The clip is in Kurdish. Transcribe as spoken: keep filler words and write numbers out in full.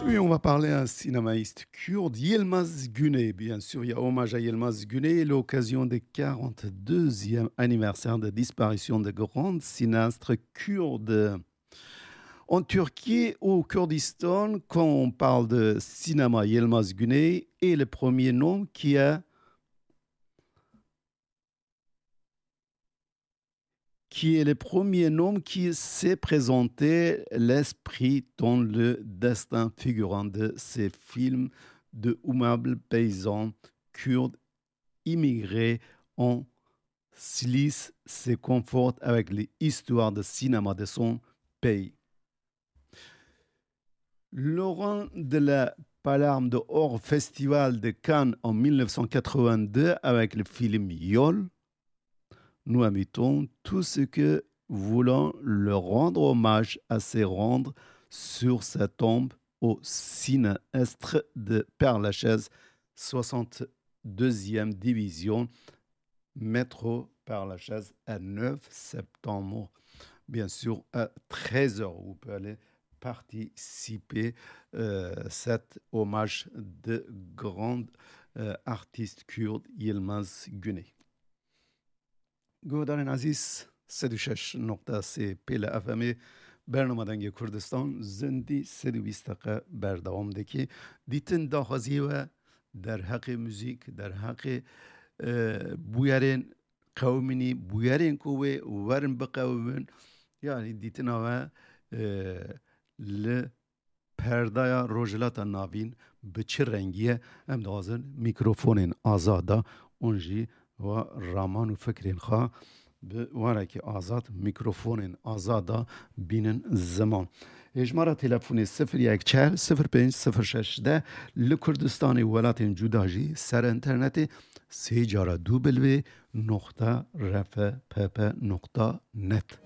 Oui, on va parler à un cinémaiste kurde, Yilmaz Güney. Bien sûr, il y a hommage à Yilmaz Güney, l'occasion du quarante-deuxième anniversaire de disparition de grand cinéaste kurde. En Turquie, au Kurdistan, quand on parle de cinéma, Yilmaz Güney est le premier nom qui a qui est le premier nom qui s'est présenté l'esprit dans le destin figurant de ces films de humbles paysans kurdes immigrés en Cilicie se conforte avec l'histoire de cinéma de son pays. Laurent de la Palme d'Or, Festival de Cannes en mille neuf cent quatre-vingt-deux avec le film Yol. Nous invitons tous ceux que voulons leur rendre hommage à se rendre sur sa tombe au cinéaste de Père-Lachaise, soixante-deuxième division, métro Père-Lachaise, à neuf septembre, bien sûr, à treize heures. Vous pouvez aller participer euh, cet hommage de grand euh, artiste kurde Yilmaz Güney. Guhdarên ezîz, sed û şeş nokta sê pê li F M'ê bernama Dengê Kurdistan, zindî sed û bîst deqe berdewam dike. Dîtin daxwaziyê we derheqê muzîk, derheqê, e, bûyerên qewimînî, bûyerên ku wê werin biqewimin. Yanî dîtina we, e, li perdaya Rojhilata Navîn bi çi rengî ye? Em dixwazin mîkrofonên azada hûn jî wa raman û fikrên xwe bi warekî azad, mîkrofonên azada bînin ziman. Hêjmara telefonê sifir yek çar sifir pênc sifir şeş de, li Kurdistanê welatên cuda jî ser înternetê sê cara du bilvê noqta R F P P noqta net.